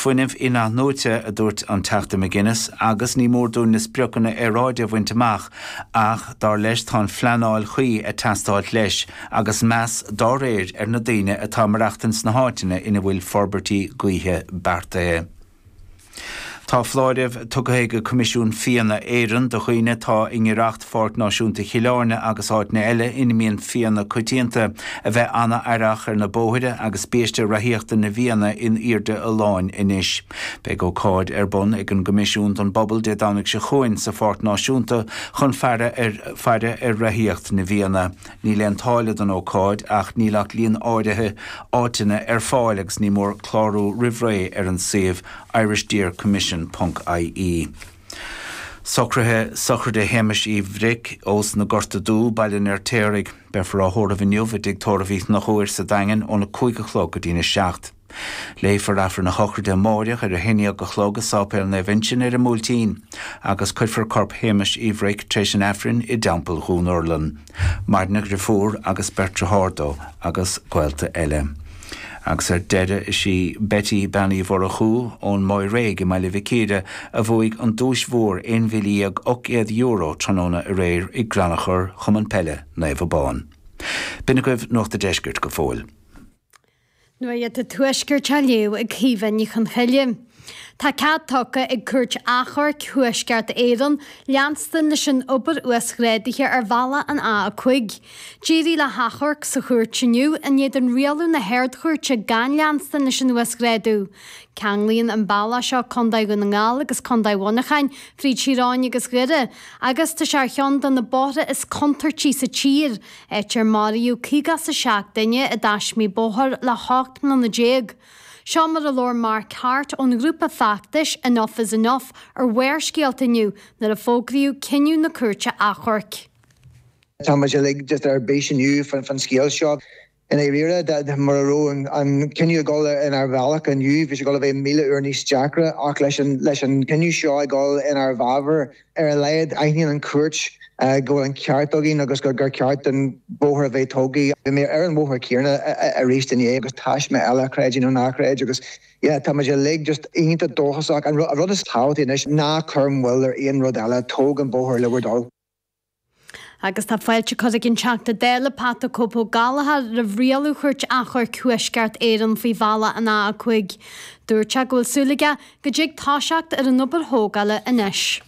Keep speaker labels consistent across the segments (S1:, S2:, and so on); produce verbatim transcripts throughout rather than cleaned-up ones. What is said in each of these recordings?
S1: fuinneamh inathnuaite, a dúirt an Teachta McGuinness, agus ní mór dúinn na spriocanna aeráide a bhaint amach ach dar leis tá an phleanáil chuí ag teastáil leis agus meas dá réir ar na daoine atá ag maireachtaint sna háiteanna ina bhfuil forbairtí gaoithe beartaithe. Tá foláireamh tugtha ag Coimisiún Fianna Éireann do dhaoine atá i ngiorracht Pháirc Náisiúnta Chill Airne agus áiteanna eile ina mbíonn fianna coitianta a bheith an-aireach ar na bóithre agus biaiste reathaíochta na bhfianna in airde a láin anois. Beidh ócáid ar bun ag an gCoimisiún don bpobal Dé Domhnaigh seo chugainn sa Pháirc Náisiúnta chun faire ar faire ar reathaíocht na bhfianna. Níl aon táille don ócáid ach níl ach líon áirithe áiteanna ar fáil agus ní mór clárú roimh ré ar an suíomh Irish Deer Commission ponc IE. Socruithe sochraide Shéamais Uí Bhric ós na Gorta Dubh Baile an Fheirtéaraigh, beifear á thórramh inniu i dTigh Tórraimh Uí Chonchúir sa Daingean óna cúig a chlog go dtína seacht. Léifear Aifreann a shochraide amárach ar a haon déag a chlog i Sáipéal Naomh Uinseann ar an mBuailtín, agus cuirfear corp Shéamais Uí Bhric tar éis an Aifrinn i dTeampall Dhún Urlann. Maireann a dheirfiúr agus beirt dearthár dó agus gaolta eile. Agus ar deireadh is í Betty Bean Uí Mhurchú ón Maigh Réidh i mBaile Mhic Íre a bhuaigh an duais mhór aon mhíle dhéag ocht gcéad euro tráthnóna aréir i gcrannchur Chumann Peile Naomh Abán. B'in agaibh Nuacht an Deiscirt go fóill.
S2: Nuacht an Tuaiscirt á léamh ag Caoimhe Ní Chonchoille. Tá cead tugtha ag Cúirt Achomhairc Thuaisceart Éireann leanstan leis an obair uasghrádaithe ar bhealach an A a cúig. D'éirigh le hachomharc sa chúirt inniu in éadan rialú na hArd-Chúirte gan leanstan leis an uasghrádú. Ceanglaíonn an bealach seo Contae Dhún na nGall agus Contae Mhuineacháin fríd Thír Eoghain agus Dhoire, agus tá sé ar cheann de na bóithre is contúirtí sa tír, áit ar maraíodh caoga is a seacht duine i dtaismí bóthair le hocht mbliana déag. Seo mar a labhair Mark Hart ón ghrúpa feachtais Enough is Enough ar Bharrscéalta inniu nuair a fógraíodh cinneadh na cúirte achomhairc.
S3: Tá muid uilig just ar bís inniu faoin scéal seo. I ndáiríre, mura raibh an cinneadh ag dul inár bhealach inniu, bhí sé ag dul a bheith míle uair níos deacra ach leis an leis an cinneadh seo ag dul inár bhfabhar, ar a laghad aithníonn an chúirt go bhfuil an ceart againn agus gur ceart an bóthar a bheith tógtha. Bhí mé ar an bhóthar céanna arís inné agus taisme eile, creid é nó ná creid agus yeah tá muid uilig just iontach dóchasach. An rud is tábhachtaí anois ná cuir moill ar aon rud eile, tóg an bóthar le bhur dtoil.
S2: Agus tá fáilte curtha ag an Teachta Dála Pat the Cope Ó Gallchóir roimh rialú Chúirt Achomhairc Thuaisceart Éireann faoi bhealach an A a cúig. Dúirt sé go bhfuil súil aige go dtig toiseacht ar an obair thógála anois.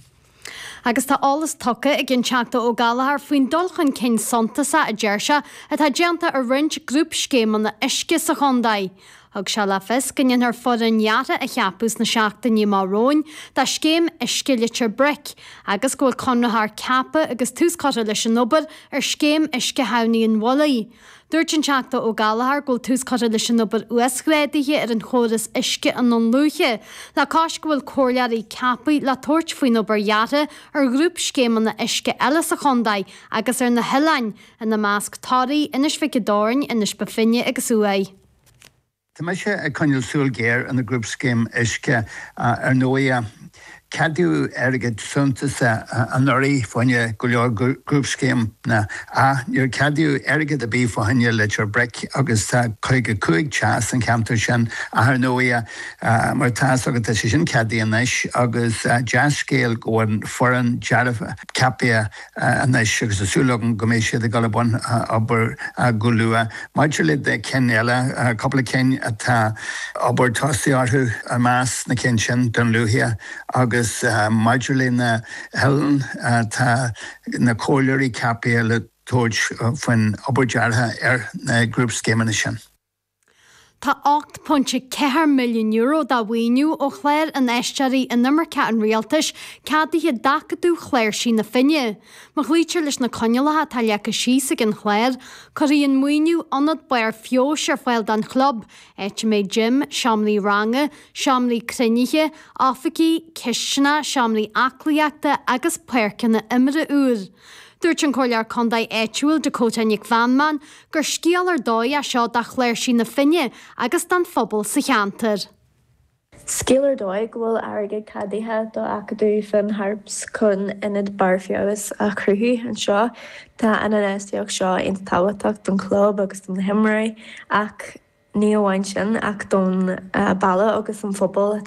S2: Agus tá eolas tugtha ag an Teachta Ó Gallchóir faoin dul chun cinn suntasach a deir sé atá déanta ar roinnt grúpscéimeanna uisce sa chontae. Thug sé le fios go ndéanfar foireann dheartha a cheapadh sna seachtainí amach romhainn do scéim uisce Leitir Bric agus go bhfuil conraitheoir ceaptha agus tús curtha leis an obair ar scéim uisce Thamhnaigh an Mhullaigh. Dúirt an Teachta Ó Gallchóir go bhfuil tús curtha leis an obair uasghrádaithe ar an chóras uisce i nDún Lúiche, le cois go bhfuil comhairleoirí ceaptha le tabhairt faoin obair dheartha ar ghrúpscéimeanna uisce eile sa chontae agus ar na hoileáin, ina measc Toraigh, Inis Mhic an Doirn, Inis Bó Finne agus Uaigh.
S4: Tá mise ag coinneáil súil ghéar ar na grúpscéim uisce. Ar ndóigh, ceadaíodh airgead suntasach anuraidh fá choinne go leor grúpscéimeanna ach níor ceadaíodh airgead ar bith fá choinne Leitir Bric agus tá caoga cúig teach san cheantar sin ach ar ndóigh, mar atá fhios agat, tá sé sin ceadaithe anois agus dea-scéal go bhfuil foireann deartha ceaptha anois agus tá súil agam go mbeidh siad ag dul i mbun obair go luath. Maidir le cinn eile, cúpla cinn atá obair tosaithe orthu, i measc na cinn sin, Dún Lúiche agus maidir le na hoileáin, tá na comhairleoirí ceaptha le tabhairt faoin obair deartha ar na grúpscéimeanna sin.
S2: Tá ocht pointe ceathair milliún euro de mhaoiniú ó chlár Infheisteoirí Inimirce an Rialtais ceadaithe d'Acadamh Chláirsí na Finne. Má chloítear leis na coinníollacha atá leagtha síos ag an chlár, cuirfidh an maoiniú ionad barr feabhais ar fáil don chlub, áit a mbeidh gym, seomraí ranga, seomraí cruinnithe, oifigí, cistineach, seomraí aclaíochta agus páirceanna imeartha úr. Dúirt an Comhairleoir Contae áitiúil Dakota Nic Mheanman gur scéal ar dóigh é seo do Chláirsí na Finne agus don phobal sa cheantar.
S5: Scéal ar dóigh go bhfuil airgead ceadaithe do Acadamh Finn Harps chun ionad barr feabhais a chruthú anseo. Tá an infheistíocht seo iontach tábhachtach don chlub agus don na himreoirí ach ní amháin sin ach don baile agus an phobal.